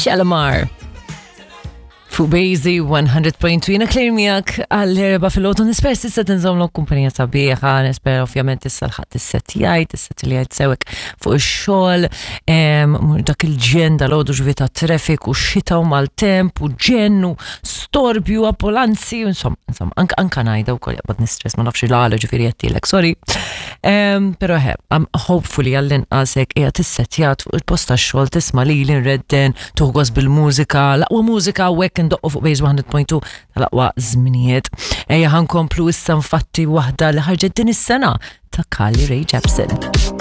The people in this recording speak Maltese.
Shalimar. Fuq Bejzi 100.2 jiena Claire miegħek għall-erba fil-ħodu nisper sissa tinżomlu kumpanija sabiħa, nisper ovvjament issa l-ħadd is-set jgħid, is-set li jgħid sewek fuq ix-xogħol, dak il-ġen dal-għodu ġvi ta' traffic u xita u maltemp u ġen u storbju, ambulanzi, insomma, insomma, anka anka ngħidha wkoll jaqbad nistress ma nafx il-għala ġifieri għedtilek, sorry. Pero he, hopefully għall-inqas hekk qiegħed issettjat fuq il-post tax-xogħol tisma' lili nredden, tuħgos bil-mużika, l-aqwa mużika u hekk indoqqu fuq Base 100.2 tal-aqwa żminijiet. Ejja ħankomplu issa nfatti waħda li ħarġet din is-sena ta' Carly Rae Jepsen.